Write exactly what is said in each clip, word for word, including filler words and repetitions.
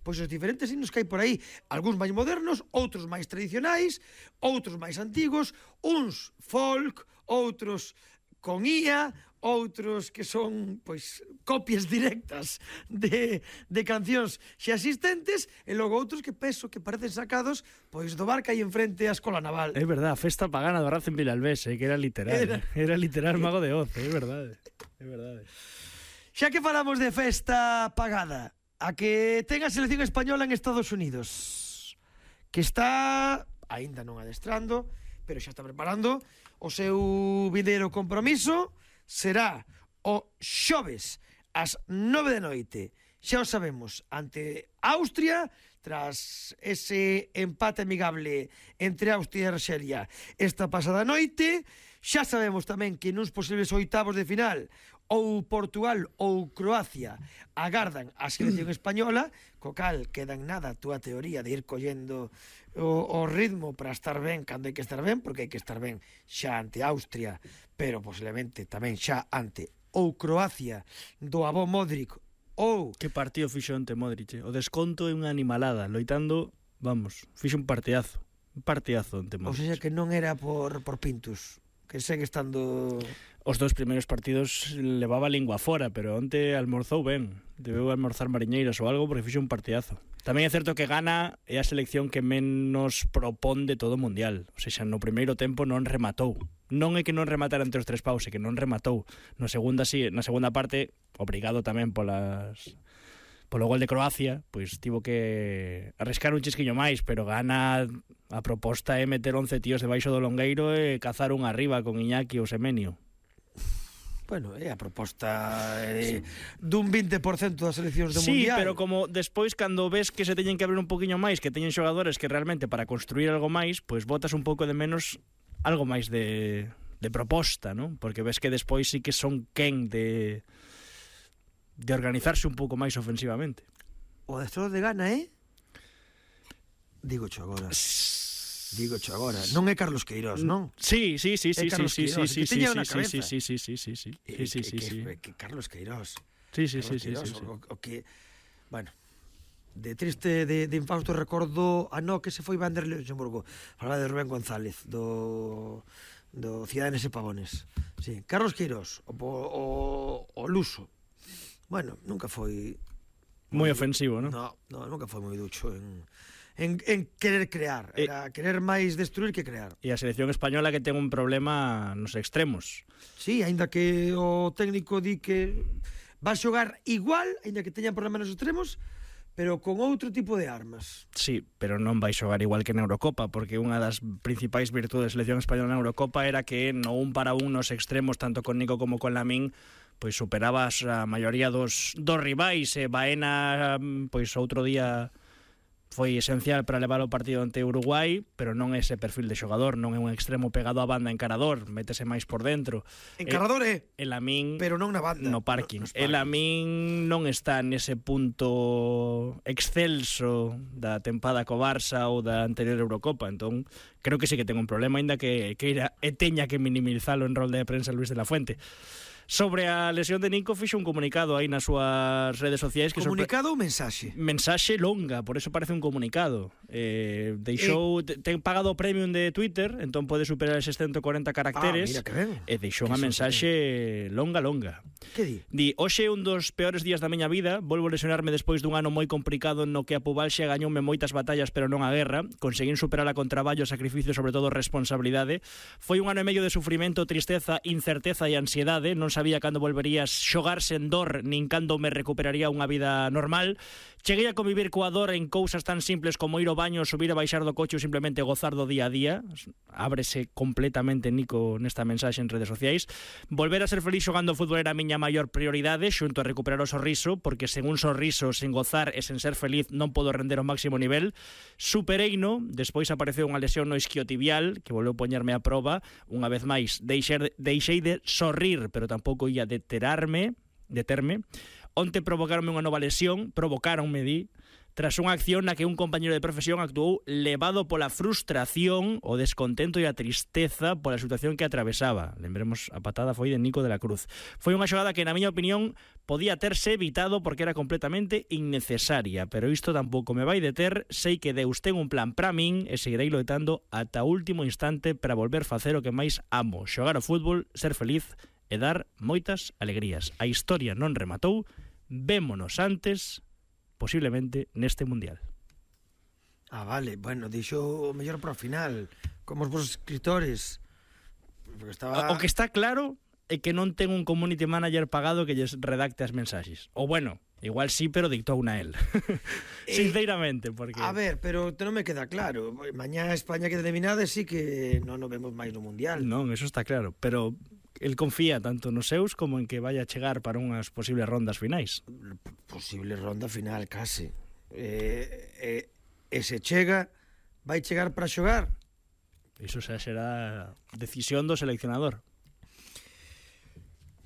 pois os diferentes himnos que hai por aí, algúns máis modernos, outros máis tradicionais, outros máis antigos, uns folk, outros con I A, outros que son, pois, copias directas de, de cancións xa existentes, e logo outros que penso que parecen sacados, pois, do bar que hai enfrente a Escola Naval. É verdade, a festa pagana do Racing Vilalbés, eh, que era literal, era, era literal Mago de Oz, é verdade, é verdade. Xa que falamos de festa pagada, a que ten a selección española en Estados Unidos, que está, aínda non adestrando, pero xa está preparando o seu vindeiro compromiso. Será o xoves ás nove da noite, xa o sabemos, ante Austria, tras ese empate amigable entre Austria e Arxelia esta pasada noite. Xa sabemos tamén que nuns posibles oitavos de final ou Portugal ou Croacia agardan a selección española, co cal queda en nada a túa teoría de ir collendo o, o ritmo para estar ben cando hai que estar ben, porque hai que estar ben xa ante Austria, pero posiblemente tamén xa ante ou Croacia do avó Modric ou... Que partido fixo ante Modric, o desconto é unha animalada, loitando, vamos, fixo un partidazo, un partidazo ante Modric. Ou seja que non era por, por Pintus, que segue estando... Os dous primeiros partidos levaba a lingua fora, pero onte almorzou ben. Debeu almorzar mariñeiras ou algo porque fixo un partidazo. Tamén é certo que Ghana é a selección que menos propón de todo o mundial. O sea, no primeiro tempo non rematou. Non é que non rematara entre os tres paus, é que non rematou. No segunda, sí, na segunda parte, obrigado tamén polas... polo gol de Croacia, pois tivo que arriscar un chisquiño máis, pero Ghana, a proposta é meter once tíos debaixo do longueiro e cazar un arriba con Iñaki ou Semenio. Bueno, é a proposta eh, dun vinte por cento das seleccións do sí, mundial. Sí, pero como despois cando ves que se teñen que abrir un poquinho máis, que teñen xogadores que realmente para construir algo máis, pois botas un pouco de menos algo máis de, de proposta, ¿no? Porque ves que despois sí que son quen de de organizarse un pouco máis ofensivamente. O adestrador de Ghana, eh? Digo cho agora. Digo cho agora. Non é Carlos Queiroz, non? Sí, sí, sí, sí, sí, sí, sí, sí, sí, sí, sí, sí, sí, sí, sí, eh, sí, sí, que, sí, que, que Carlos Queiroz. Sí, sí, Carlos sí, Queiroz, sí, sí, sí. O, o que, bueno, de triste, de, de infausto recordo a no que se foi Vander Luxemburgo. Falaba de Rubén González, do do Ciudadanos e Pavones. Sí, Carlos Queiroz, o, o, o Luso. Bueno, nunca foi moi ofensivo, non? No, no, nunca foi moi ducho en, en, en querer crear. Era e, querer máis destruir que crear. E a selección española que ten un problema nos extremos. Sí, aínda que o técnico di que va a xogar igual, aínda que teñan problemas nos extremos, pero con outro tipo de armas. Sí, pero non vai xogar igual que na Eurocopa, porque unha das principais virtudes da selección española na Eurocopa era que no un para un nos extremos, tanto con Nico como con Lamín, pois superabas a maioría dos, dos rivais, e Baena, pois outro día foi esencial para levar o partido ante Uruguai, pero non é ese perfil de xogador, non é un extremo pegado á banda encarador, métese máis por dentro. Encarador é, el Lamín, pero non na banda, no parking. No, el Lamín non está nese punto excelso da tempada co Barça ou da anterior Eurocopa, entón creo que sí que ten un problema, aínda que, que era, e teña que minimizalo en rol de prensa Luis de la Fuente. Sobre a lesión de Nico fixo un comunicado aí nas súas redes sociais que comunicado ou mensaxe? Mensaxe longa, por eso parece un comunicado. Eh, deixou eh... ten pagado o premium de Twitter, entón pode superar eses ciento corenta caracteres. Ah, mira que ben. E deixou unha mensaxe longa, longa. Que di? Di, hoxe é un dos peores días da miña vida, volvo lesionarme despois dun ano moi complicado no que a pubalxia gañoume moitas batallas pero non a guerra, conseguín superala con traballo, sacrificio, sobre todo responsabilidade. Foi un ano e medio de sufrimento, tristeza, incerteza e ansiedade, non sabía cando volverías xogar sen dor nin cando me recuperaría unha vida normal. Cheguei a convivir coa dor en cousas tan simples como ir ao baño, subir a baixar do coche ou simplemente gozar do día a día. Ábrese completamente Nico nesta mensaxe en redes sociais. Volver a ser feliz xogando fútbol era a miña maior prioridade, xunto a recuperar o sorriso, porque sen un sorriso, sen gozar e sen ser feliz non podo render o máximo nivel. Supereino, despois apareceu unha lesión no isquiotibial que volveu poñerme a proba. Unha vez máis, deixei, deixei de sorrir, pero tampouco ia deterarme, determe. Onte provocaronme unha nova lesión, provocaronme, di, tras unha acción na que un compañero de profesión actuou levado pola frustración, o descontento e a tristeza pola situación que atravesaba. Lembremos, a patada foi de Nico de la Cruz. Foi unha xogada que, na miña opinión, podía terse evitado porque era completamente innecesaria, pero isto tampouco me vai deter. Sei que Deus ten un plan para min e seguirei loitando ata o último instante para volver facer o que máis amo, xogar ao fútbol, ser feliz e dar moitas alegrías. A historia non rematou, vémonos antes, posiblemente neste Mundial. Ah, vale, bueno, dixo o mellor para o final, como os vos escritores. Estaba... O que está claro é que non ten un community manager pagado que lles redacte as mensaxes. O bueno, igual sí, pero dictou unha el. Sinceramente, porque... A ver, pero non me queda claro. Mañá España queda eliminada e sí que non nos vemos máis no Mundial. Non, eso está claro, pero el confía tanto nos seus como en que vaya a chegar para unhas posibles rondas finais. Posible ronda final, case. Eh, eh, e se chega, vai chegar para xogar? Iso xa será decisión do seleccionador.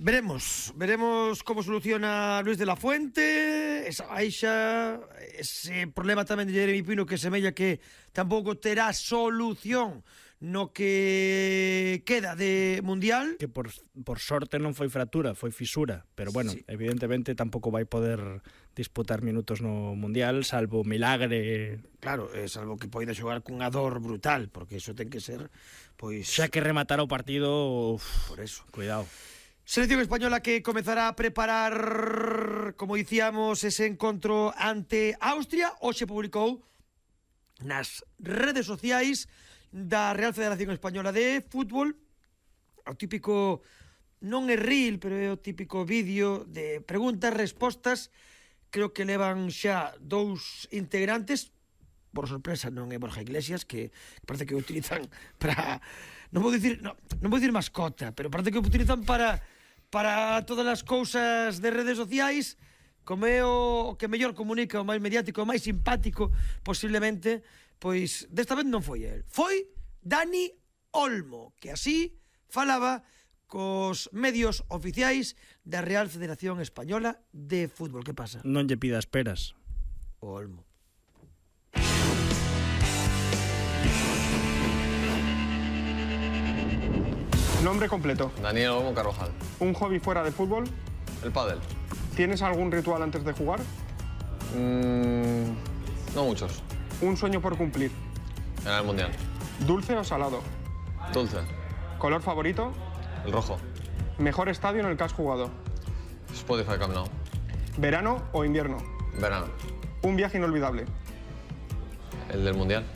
Veremos, veremos como soluciona Luis de la Fuente, esa baixa, ese problema tamén de Jeremy Pino que semella que tampouco terá solución no que queda de Mundial. Que por, por sorte non foi fractura, foi fisura, pero bueno, sí. Evidentemente tampouco vai poder disputar minutos no Mundial, salvo milagre. Claro, eh, salvo que poida xogar cunha dor brutal, porque iso ten que ser, pois... Xa que rematar o partido, uf, por eso. Cuidado. Selección española que comezará a preparar, como dicíamos, ese encontro ante Austria. Hoxe publicou nas redes sociais da Real Federación Española de Fútbol o típico, non é reel, pero é o típico vídeo de preguntas, respostas. Creo que levan xa dous integrantes. Por sorpresa non é Borja Iglesias, que parece que o utilizan para... Non vou dicir, non, non vou dicir mascota, pero parece que o utilizan para para todas as cousas de redes sociais, como é o que mellor comunica, o máis mediático, o máis simpático, posiblemente, pois desta vez non foi el. Foi Dani Olmo, que así falaba cos medios oficiais da Real Federación Española de Fútbol. Que pasa? Non lle pidas peras. O Olmo. Nombre completo. Daniel Olmo Carvajal. ¿Un hobby fuera de fútbol? El pádel. ¿Tienes algún ritual antes de jugar? Mm, no muchos. ¿Un sueño por cumplir? Ganar el Mundial. ¿Dulce o salado? Dulce. ¿Color favorito? El rojo. ¿Mejor estadio en el que has jugado? Spotify Camp Nou. ¿Verano o invierno? Verano. ¿Un viaje inolvidable? El del Mundial.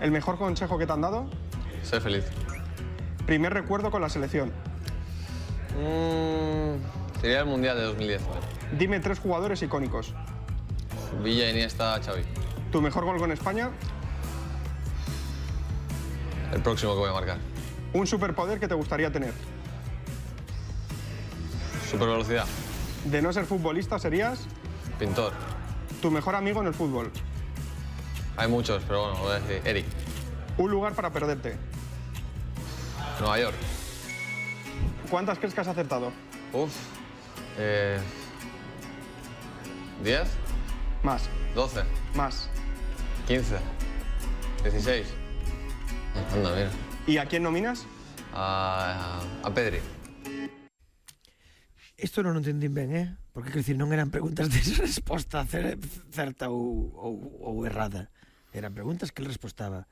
¿El mejor consejo que te han dado? Sé feliz. ¿Primer recuerdo con la selección? Mm, sería el Mundial de dos mil diez. Dime tres jugadores icónicos. Villa, Iniesta, Xavi. ¿Tu mejor gol con España? El próximo que voy a marcar. ¿Un superpoder que te gustaría tener? Supervelocidad. De no ser futbolista, ¿serías? Pintor. ¿Tu mejor amigo en el fútbol? Hay muchos, pero bueno, voy a decir Eric. ¿Un lugar para perderte? Nueva York. ¿Cuántas crees que has acertado? Uf. Eh, ¿diez? Más. ¿doce? Más. ¿quince? ¿dieciséis? Anda, mira. ¿Y a quién nominas? A, a Pedri. Isto non o entendín ben, eh? Porque, quer dicir, non eran preguntas de resposta certa ou, ou, ou errada. Eran preguntas que ele respostaba.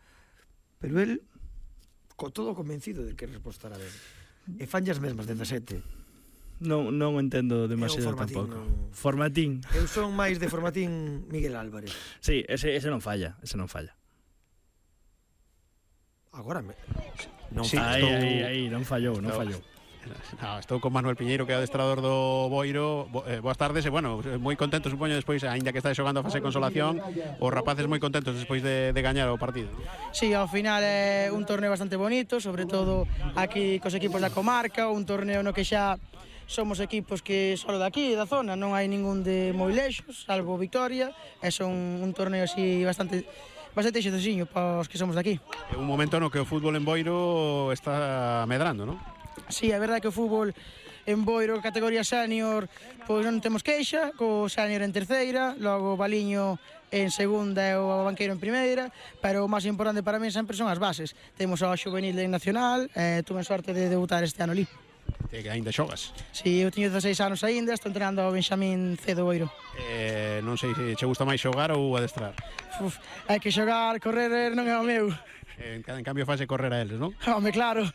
Pero el, co todo convencido de que respostara ben. E fan as mesmas, dezasete. Non, non entendo demasiado formatín, tampouco. Non... Formatín. Eu son máis de formatín Miguel Álvarez. Sí, ese, ese non falla, ese non falla. Agora me... Non Sí, aí, estou... aí, aí, non fallou, non Estou... fallou. No, estou con Manuel Piñeiro, que é o adestrador do Boiro. Bo, eh, boas tardes e, bueno, moi contento, supoño, despois, aínda que está xogando a fase de consolación, os rapaces moi contentos despois de, de gañar o partido. Sí, ao final é un torneo bastante bonito, sobre todo aquí cos equipos da comarca, un torneo no que xa somos equipos que solo daqui, da zona, non hai ningún de moi lexos, salvo Victoria, e son un torneo así bastante bastante xetosiño para os que somos daqui. É un momento no que o fútbol en Boiro está medrando, non? Sí, é verdade que o fútbol En Boiro, categoría senior, pois non temos queixa, co senior en terceira, logo Baliño en segunda e o Banqueiro en primeira, pero o máis importante para mí sempre son as bases. Temos ao juvenil en nacional, e tuve sorte de debutar este ano ali. Que ainda xogas? Si, eu teño dezaseis anos aínda, estou entrenando ao Benxamín C do Boiro. Eh, non sei se che gusta máis xogar ou adestrar. Uf, hai que xogar, correr non é o meu. En, en cambio fase correr a eles, non? Home, claro.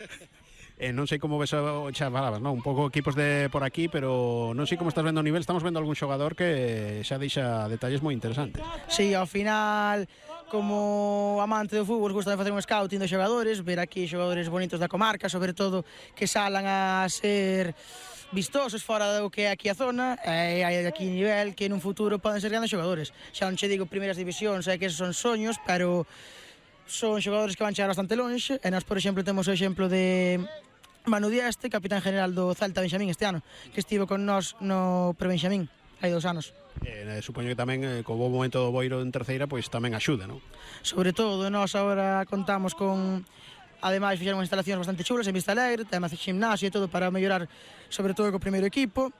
Eh, non sei como ves, xa falabas, non? Un pouco equipos de por aquí, pero non sei como estás vendo o nivel. Estamos vendo algún xogador que xa deixa detalles moi interesantes. Si, ao final, como amante do fútbol, gusta de facer un scouting dos xogadores, ver aquí xogadores bonitos da comarca, sobre todo que salan a ser vistosos fora do que é aquí a zona, e hai aquí nivel que nun futuro poden ser grandes xogadores. Xa non che digo primeiras divisións, é que esos son soños, pero son xogadores que van chegar bastante longe, e nós, por exemplo, temos o exemplo de Manu Dieste, capitán general do Celta Benxamín este ano, que estivo con nós no pre-Benxamín, hai dous anos. Eh, supoño que tamén, eh, co bo momento do Boiro en terceira, pois tamén axuda, non? Sobre todo, nós agora contamos con, ademais, fixeron instalacións bastante chulas en Vista Alegre, temas de gimnasio e todo para mellorar, sobre todo co primeiro equipo.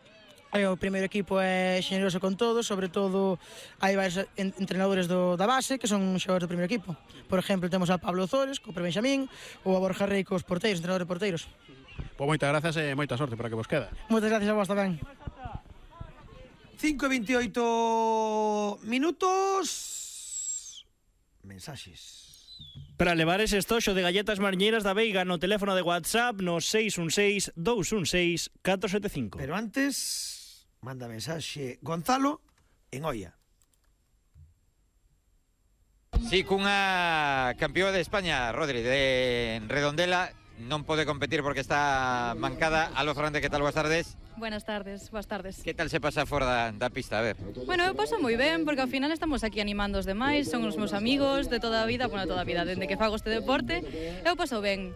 E o primeiro equipo é xeneroso con todos, sobre todo hai varios entrenadores do, da base que son xogadores do primeiro equipo. Por exemplo, temos a Pablo Zores, co pre-Benxamín, ou a Borja Rey cos porteiros, entrenadores de porteiros. Pois moitas grazas e moita sorte para que vos queda. Moitas gracias a vos tamén. cinco e veintioito minutos. Mensaxes. Para levar ese estoxo de galletas mariñeiras da Veiga no teléfono de WhatsApp no seis un seis, dous un seis, catro sete cinco. Pero antes, manda mensaxe Gonzalo en Oia. Sí, cunha campeón de España, Rodri, de Redondela, non pode competir porque está mancada. Aló, Fernández, que tal? Boas tardes. Buenas tardes, boas tardes. Que tal se pasa fora da, da pista? A ver. Bueno, eu paso moi ben, porque ao final estamos aquí animando os demais, son os meus amigos de toda a vida, bueno, toda a vida, dende que fago este deporte, eu paso ben.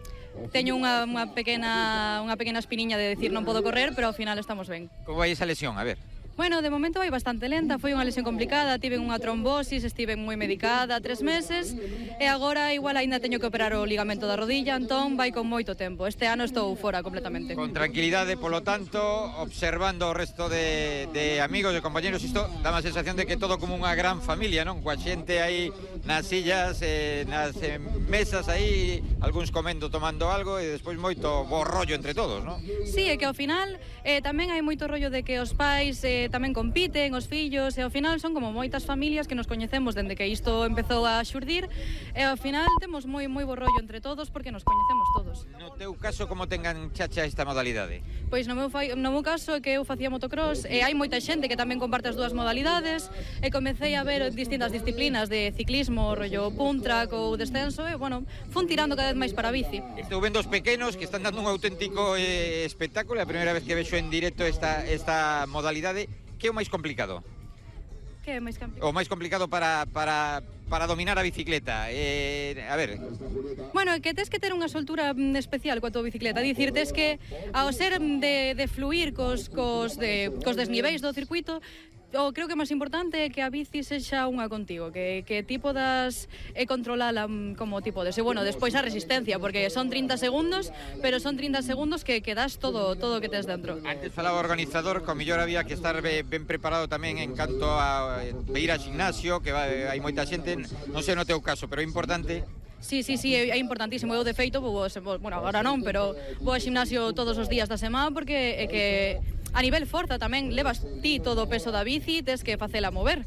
Teño unha, unha, pequena, unha pequena espiniña de decir non podo correr, pero ao final estamos ben. Como vai esa lesión? A ver. Bueno, de momento vai bastante lenta, foi unha lesión complicada, tive unha trombosis, estive moi medicada tres meses e agora igual aínda teño que operar o ligamento da rodilla, entón vai con moito tempo. Este ano estou fora completamente. Con tranquilidade, polo tanto, observando o resto de, de amigos e compañeros, isto dá a sensación de que todo como unha gran familia, non? Coa xente aí nas sillas, eh, nas eh, mesas aí, algúns comendo, tomando algo e despois moito bo rollo entre todos, non? Sí, é que ao final eh, tamén hai moito rollo de que os pais eh, tamén compiten, os fillos, e ao final son como moitas familias que nos coñecemos dende que isto empezou a xurdir, e ao final temos moi moi bo rollo entre todos porque nos coñecemos todos. No teu caso, como tengan chacha esta modalidade? Pois no meu, fai, no meu caso é que eu facía motocross e hai moita xente que tamén comparte as dúas modalidades e comecei a ver distintas disciplinas de ciclismo, rollo punt track ou descenso e, bueno, fun tirando cada vez máis para a bici. Estou vendo os pequenos que están dando un auténtico eh, espectáculo, é a primeira vez que vexo en directo esta, esta modalidade. Que é o máis complicado? Que é máis complicado? O máis complicado para, para, para dominar a bicicleta. Eh, a ver... Bueno, é que tes que ter unha soltura especial coa tua bicicleta. Dicir, tes que, ao ser de, de fluir cos, cos, de, cos desniveis do circuito, o creo que o máis importante é que a bici sexa unha contigo, que, que ti podas e controlala como ti podes. E, bueno, despois a resistencia, porque son trinta segundos, pero son trinta segundos que, que das todo todo o que tes dentro. Antes falaba o organizador, co mellor había que estar ben preparado tamén en canto a ir ao gimnasio, que vai, hai moita xente, non sei no teu caso, pero é importante. Sí, sí, sí, é importantísimo. Eu, de feito, vou, bueno, agora non, pero vou ao gimnasio todos os días da semana porque é que a nivel forza tamén levas ti todo o peso da bici, tes que facela mover.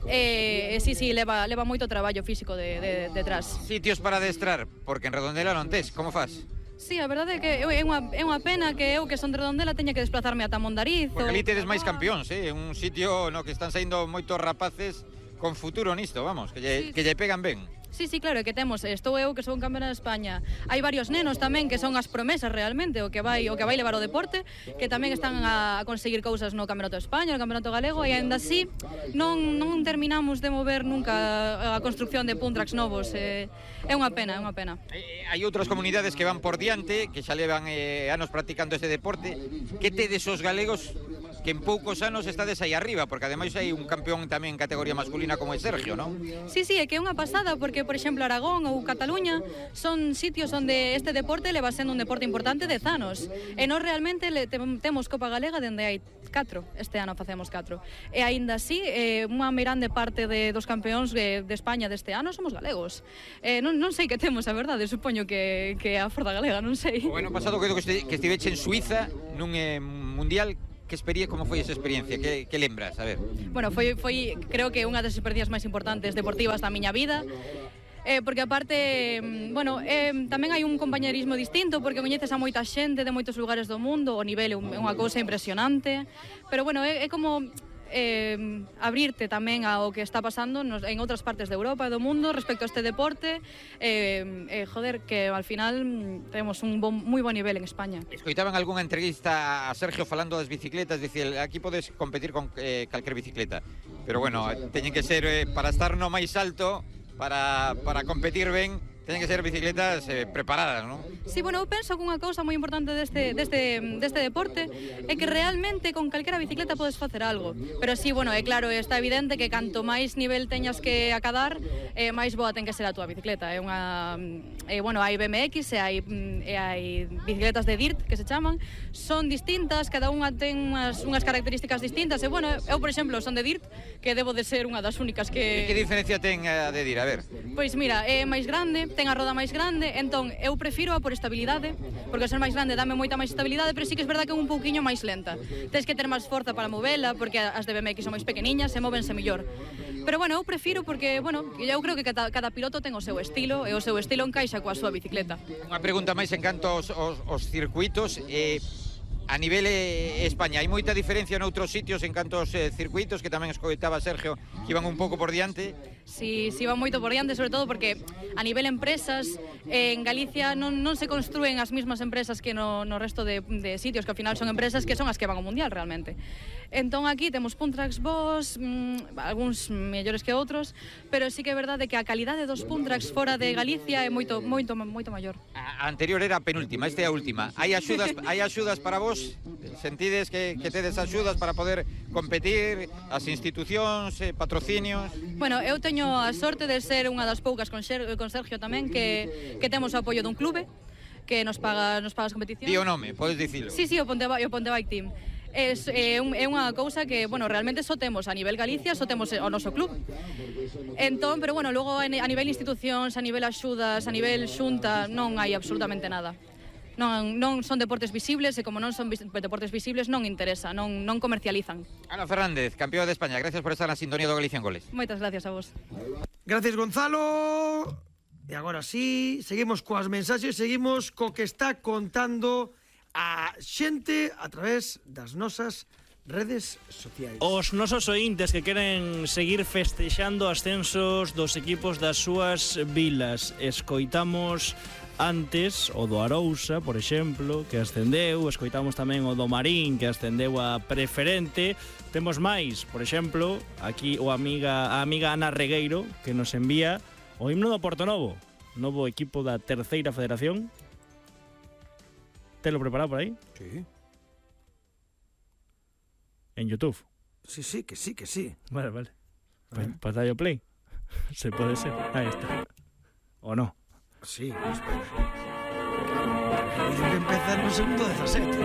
E, sí, sí, leva, leva moito traballo físico de, de, detrás. Sitios para adestrar, porque en Redondela non tes, como faz? Sí, a verdade é que é unha, é unha pena que eu, que son de Redondela, teña que desplazarme ata Mondariz. Porque ou... ali tedes máis campións, eh? Un sitio no que están saindo moitos rapaces con futuro nisto, vamos, que lle, sí, que lle pegan ben. Sí, sí, claro, é que temos, estou eu que son campeona de España. Hai varios nenos tamén que son as promesas realmente, o que vai o que vai levar o deporte, que tamén están a, a conseguir cousas no Campeonato de España, no Campeonato Galego, e aínda así non, non terminamos de mover nunca a construcción de punt tracks novos. É, é unha pena, é unha pena. Hai outras comunidades que van por diante, que xa levan eh, anos practicando ese deporte. Que tedes os galegos que en poucos anos estades aí arriba, porque ademais hai un campeón tamén en categoría masculina como é Sergio, non? Sí, sí, é que é unha pasada, porque, por exemplo, Aragón ou Cataluña son sitios onde este deporte leva sendo un deporte importante dez anos. E nós realmente le, te, temos Copa Galega dende hai catro, este ano facemos catro. E aínda así, eh, unha mirande parte de, dos campeóns de, de España deste ano somos galegos. Eh, non, non sei que temos, a verdade, supoño que, que a forza galega, non sei. O ano pasado creo que, este, que estiveche en Suiza nun eh, mundial. Que experiencia, como foi esa experiencia? Que, que lembras? A ver. Bueno, foi, foi creo que unha das experiencias máis importantes deportivas da miña vida. Eh, porque aparte, bueno, eh, tamén hai un compañerismo distinto, porque coñeces a moita xente de moitos lugares do mundo, o nivel é unha cousa impresionante, pero bueno, é, é como eh, abrirte tamén ao que está pasando nos, en outras partes de Europa e do mundo respecto a este deporte, eh, eh, joder, que al final temos un bon, moi bon nivel en España. Escoitaban algunha entrevista a Sergio falando das bicicletas, dicir, aquí podes competir con eh, calquer bicicleta, pero bueno, teñen que ser, eh, para estar no máis alto, para, para competir ben, teñen que ser bicicletas eh, preparadas, non? Sí, bueno, eu penso que unha cousa moi importante deste, deste, deste deporte é que realmente con calquera bicicleta podes facer algo. Pero sí, bueno, é claro, está evidente que canto máis nivel teñas que acadar, eh, máis boa ten que ser a túa bicicleta. É unha, eh, bueno, hai B M X e hai, e hai bicicletas de dirt, que se chaman, son distintas, cada unha ten unhas, unhas características distintas, e bueno, eu, por exemplo, son de dirt, que debo de ser unha das únicas que... E que diferencia ten a de dirt? A ver. Pois mira, é máis grande, ten a roda máis grande, entón eu prefiro a por estabilidade, porque ao ser máis grande dame moita máis estabilidade, pero sí que é verdad que é un pouquiño máis lenta. Tens que ter máis forza para movela, porque as de B M X son máis pequeniñas e móvense mellor. Pero bueno, eu prefiro porque, bueno, eu creo que cada, cada piloto ten o seu estilo e o seu estilo encaixa coa súa bicicleta. Unha pregunta máis en canto aos, aos, aos circuitos, eh, a nivel eh, España, hai moita diferencia noutros sitios en canto aos eh, circuitos, que tamén escoitaba Sergio, que iban un pouco por diante? Si, si van moito por diante, sobre todo porque a nivel empresas, eh, en Galicia non, non se construen as mesmas empresas que no, no resto de, de sitios, que ao final son empresas que son as que van ao mundial realmente. Entón aquí temos Puntrax Boss, mmm, algúns mellores que outros, pero sí que é verdade que a calidade dos Puntrax fora de Galicia é moito moito moito maior. A anterior era a penúltima, esta é a última. Hai axudas, hai axudas para vos? Sentides que, que tedes axudas para poder competir, as institucións, eh, patrocinios? Bueno, eu teño a sorte de ser unha das poucas con, Ser, con Sergio tamén que, que temos o apoio dun clube que nos paga, nos paga as competicións. Di o nome, podes dicilo? Sí, sí, o Ponte, o Ponte Bike Team. É, é, un, é unha cousa que, bueno, realmente só temos a nivel Galicia, só temos o noso club. Entón, pero bueno, logo a nivel institucións, a nivel axudas, a nivel xunta, non hai absolutamente nada. Non, non son deportes visibles e como non son deportes visibles non interesa, non, non comercializan. Ana Fernández, campeón de España, gracias por estar na sintonía do Galicia en Goles. Moitas gracias a vos. Gracias, Gonzalo. E agora sí, seguimos coas mensaxes, seguimos co que está contando a xente a través das nosas redes sociais. Os nosos ointes que queren seguir festexando ascensos dos equipos das súas vilas. Escoitamos antes o do Arousa, por exemplo, que ascendeu, escoitamos tamén o do Marín, que ascendeu a preferente. Temos máis, por exemplo, aquí o amiga, a amiga Ana Regueiro, que nos envía o himno do Portonovo, novo equipo da terceira federación. Te lo preparado por aí? Sí. En YouTube. Sí, sí, que sí, que sí. Vale, vale. Pues, pues dale play. Se puede ser. Ahí está. ¿O no? Sí, espera. Claro, el vídeo que empeza no segundo dezasete.